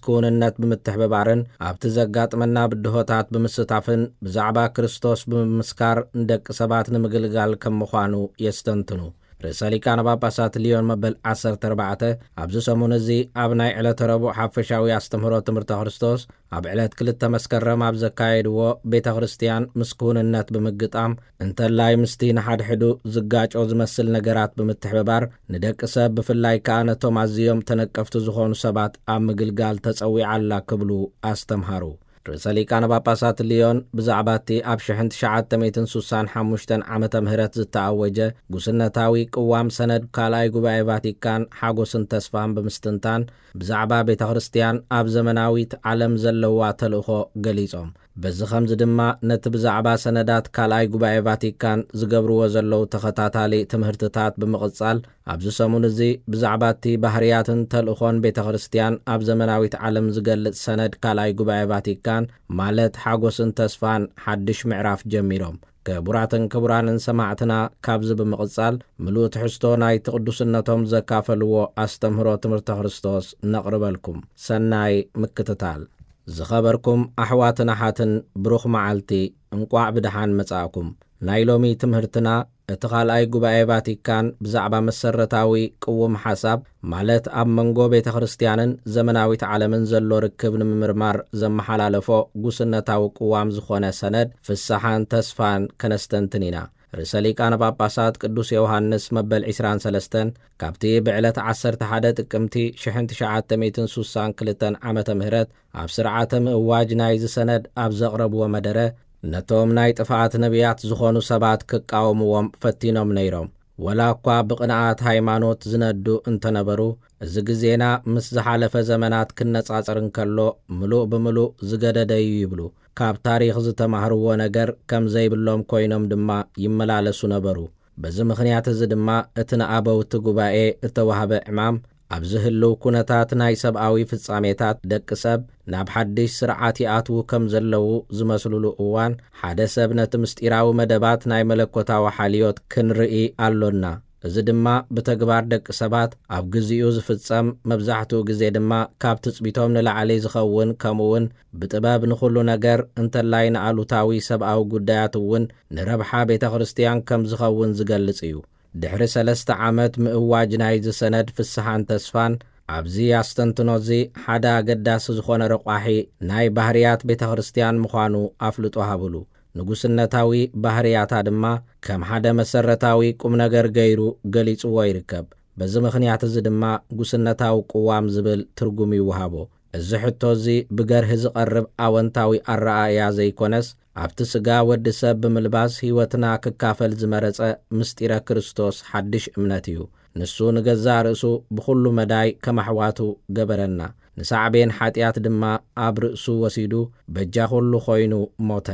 ክውንነት ብምትሕብባርን ኣብቲ ዘጋጥመና ብድሆታት ብምስታፍን ብዛዕባ ክርስቶስ ብምምስካር ንደቂ ሰባት ንምግልጋል ከም ምዃኑ የስተንትኑ። ርእሰ ሊቃነ ጳጳሳት ሊዮን መበል ዓሰርተ ኣርባዕተ ኣብዚ ሰሙን እዚ ኣብ ናይ ዕለተ ረቡዕ ሓፈሻዊ ኣስተምህሮ ትምህርተ ክርስቶስ ኣብ ዕለት ክልተ መስከረም ኣብ ዘካየድዎ ቤተ ክርስቲያን ምስ ክውንነት ብምግጣም እንተላይ ምስቲ ንሓድሕዱ ዝጋጮ ዝመስል ነገራት ብምትሕብባር ንደቂ ሰብ ብፍላይ ከኣ ነቶም ኣዝዮም ተነቀፍቲ ዝኾኑ ሰባት ኣብ ምግልጋል ተጸዊዓ ኣላ ክብሉ ኣስተምሃሩ። ርእሰ ሊቃነ ጳጳሳት ሊዮን ብዛዕባ እቲ ኣብ ሽሕን ትሽዓተ ሚእትን ሱሳን ሓሙሽተን ዓመተ ምህረት ዝተኣወጀ ጉስነታዊ ቅዋም ሰነድ ካልኣይ ጉባኤ ቫቲካን ሓጎስን ተስፋን ብምስትንታን ብዛዕባ ቤተ ክርስቲያን ኣብ ዘመናዊት ዓለም ዘለዋ ተልእኾ ገሊጾም። በዚ ኸምዚ ድማ ነቲ ብዛዕባ ሰነዳት ካልኣይ ጉባኤ ቫቲካን ዝገብርዎ ዘለዉ ተኸታታሊ ትምህርትታት ብምቕጻል ኣብዚ ሰሙን እዚ ብዛዕባ እቲ ባህርያትን ተልእኾን ቤተ ክርስቲያን ኣብ ዘመናዊት ዓለም ዝገልጽ ሰነድ ካልኣይ ጉባኤ ቫቲካን ማለት ሓጎስን ተስፋን ሓድሽ ምዕራፍ ጀሚሮም። ክቡራትን ክቡራንን ሰማዕትና ካብዚ ብምቕጻል ምሉእ ትሕዝቶ ናይቲ ቅዱስነቶም ዘካፈልዎ ኣስተምህሮ ትምህርተ ክርስቶስ ነቕርበልኩም። ሰናይ ምክትታል። ዝኸበርኩም ኣሕዋትን ኣሓትን ብሩኽ መዓልቲ እንቋዕ ብደሓን መጻእኩም። ናይ ሎሚ ትምህርትና እቲ ካልኣይ ጉባኤ ቫቲካን ብዛዕባ መሰረታዊ ቅውም ሓሳብ ማለት ኣብ መንጎ ቤተ ክርስቲያንን ዘመናዊት ዓለምን ዘሎ ርክብ ንምምርማር ዘመሓላለፎ ጉስነታዊ ቅዋም ዝኾነ ሰነድ ፍስሓን ተስፋን ከነስተንትን ኢና። ርእሰ ሊቃነ ጳጳሳት ቅዱስ ዮሃንስ መበል ዕስራን ሰለስተን ካብቲ ብዕለት ዓሰርተ ሓደ ጥቅምቲ ሽሕን ትሽዓተ ሚእትን ሱሳን ክልተን ዓመተ ምህረት ኣብ ስርዓተ ምእዋጅ ናይዚ ሰነድ ኣብ ዘቕረብዎ መደረ ነቶም ናይ ጥፍኣት ነቢያት ዝኾኑ ሰባት ክቃወምዎም ፈቲኖም ነይሮም። ወላ እኳ ብቕንኣት ሃይማኖት ዝነዱ እንተነበሩ፣ እዚ ግዜና ምስ ዝሓለፈ ዘመናት ክነጻጸር እንከሎ ምሉእ ብምሉእ ዝገደደ እዩ ይብሉ። ካብ ታሪኽ ዝተማህርዎ ነገር ከም ዘይብሎም ኮይኖም ድማ ይመላለሱ ነበሩ። በዚ ምኽንያት እዚ ድማ እቲ ንኣበውቲ ጉባኤ እተዋህበ ዕማም ኣብዚ ህልው ኩነታት ናይ ሰብኣዊ ፍጻሜታት ደቂ ሰብ ናብ ሓድሽ ስርዓት ይኣትዉ ከም ዘለዉ ዝመስሉሉ እዋን ሓደ ሰብ ነቲ ምስጢራዊ መደባት ናይ መለኮታዊ ሓልዮት ክንርኢ ኣሎና። እዚ ድማ ብተግባር ደቂ ሰባት ኣብ ግዚኡ ዝፍጸም መብዛሕትኡ ግዜ ድማ ካብ ትጽቢቶም ንላዕሊ ዝኸውን ከምኡውን ብጥበብ ንኹሉ ነገር እንተላይ ንኣሉታዊ ሰብኣዊ ጉዳያት እውን ንረብሓ ቤተ ክርስቲያን ከም ዝኸውን ዝገልጽ እዩ። ድሕሪ ሰለስተ ዓመት ምእዋጅ ናይዚ ሰነድ ፍስሓን ተስፋን ኣብዚ ኣስተንትኖ እዚ ሓደ ኣገዳሲ ዝኾነ ረቋሒ ናይ ባህርያት ቤተ ክርስቲያን ምዃኑ ኣፍልጦ ሃብሉ። ንጉስነታዊ ባህርያታ ድማ ከም ሓደ መሰረታዊ ቁም ነገር ገይሩ ገሊጽዎ ይርከብ። በዚ ምኽንያት እዚ ድማ ጉስነታዊ ቅዋም ዝብል ትርጉም ይወሃቦ። እዚ ሕቶ እዚ ብገርሂ ዝቐርብ ኣወንታዊ ኣረኣእያ ዘይኮነስ ኣብቲ ስጋ ወዲ ሰብ ብምልባስ ህይወትና ክካፈል ዝመረጸ ምስጢረ ክርስቶስ ሓድሽ እምነት እዩ። ንሱ ንገዛእ ርእሱ ብኹሉ መዳይ ከም ኣሕዋቱ ገበረና። ንሳዕቤን ሓጢኣት ድማ ኣብ ርእሱ ወሲዱ በጃ ኩሉ ኮይኑ ሞተ።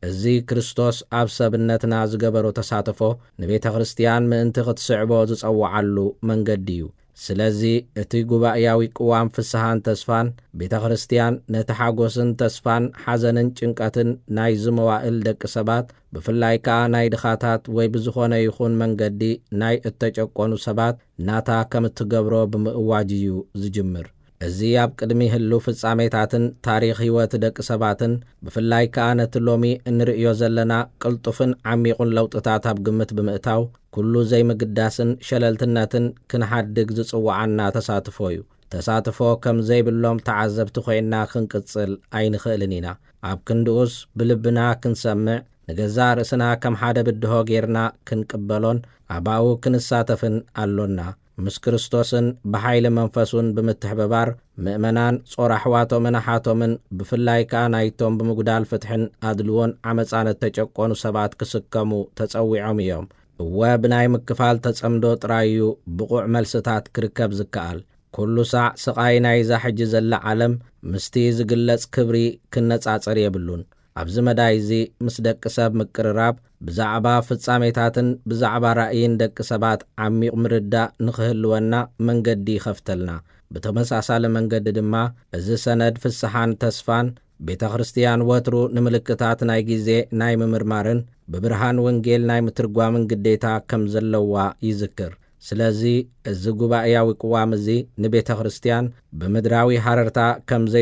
እዚ ክርስቶስ ኣብ ሰብነትና ዝገበሮ ተሳትፎ ንቤተ ክርስቲያን ምእንቲ ክትስዕቦ ዝጸውዓሉ መንገዲ እዩ። ስለዚ እቲ ጉባኤያዊ ቅዋም ፍስሓን ተስፋን ቤተ ክርስቲያን ነቲ ሓጎስን ተስፋን ሓዘንን ጭንቀትን ናይዚ መዋእል ደቂ ሰባት ብፍላይ ከኣ ናይ ድኻታት ወይ ብዝኾነ ይኹን መንገዲ ናይ እተጨቆኑ ሰባት ናታ ከም እትገብሮ ብምእዋጅ እዩ ዝጅምር። እዚ ኣብ ቅድሚ ህልው ፍጻሜታትን ታሪኽ ህይወት ደቂ ሰባትን ብፍላይ ከኣ ነቲ ሎሚ እንርእዮ ዘለና ቅልጡፍን ዓሚቑን ለውጥታት ኣብ ግምት ብምእታው ኩሉ ዘይምግዳስን ሸለልትነትን ክንሓድግ ዝጽውዓና ተሳትፎ እዩ። ተሳትፎ ከም ዘይብሎም ተዓዘብቲ ኮይንና ክንቅጽል ኣይንኽእልን ኢና። ኣብ ክንድኡስ ብልብና ክንሰምዕ ንገዛእ ርእስና ከም ሓደ ብድሆ ጌርና ክንቅበሎን ኣባኡ ክንሳተፍን ኣሎና። ምስ ክርስቶስን ብሓይሊ መንፈሱን ብምትሕብባር ምእመናን ጾር ኣሕዋቶምን ኣሓቶምን ብፍላይ ከኣ ናይቶም ብምጉዳል ፍትሕን ኣድልዎን ዓመጻን እተጨቆኑ ሰባት ክስከሙ ተጸዊዖም እዮም። እወ ብናይ ምክፋል ተጸምዶ ጥራይ እዩ ብቑዕ መልስታት ክርከብ ዝከኣል። ኩሉ ሳዕ ስቓይ ናይዛ ሕጂ ዘላ ዓለም ምስቲ ዝግለጽ ክብሪ ክነጻጸር የብሉን። ኣብዚ መዳይ እዚ ምስ ደቂ ሰብ ምቅርራብ ብዛዕባ ፍጻሜታትን ብዛዕባ ራእይን ደቂ ሰባት ዓሚቕ ምርዳእ ንኽህልወና መንገዲ ይኸፍተልና። ብተመሳሳሊ መንገዲ ድማ እዚ ሰነድ ፍስሓን ተስፋን ቤተ ክርስቲያን ወትሩ ንምልክታት ናይ ግዜ ናይ ምምርማርን ብብርሃን ወንጌል ናይ ምትርጓምን ግዴታ ከም ዘለዋ ይዝክር። ስለዚ እዚ ጉባኤያዊ ቅዋም እዚ ንቤተ ክርስቲያን ብምድራዊ ሃረርታ ከም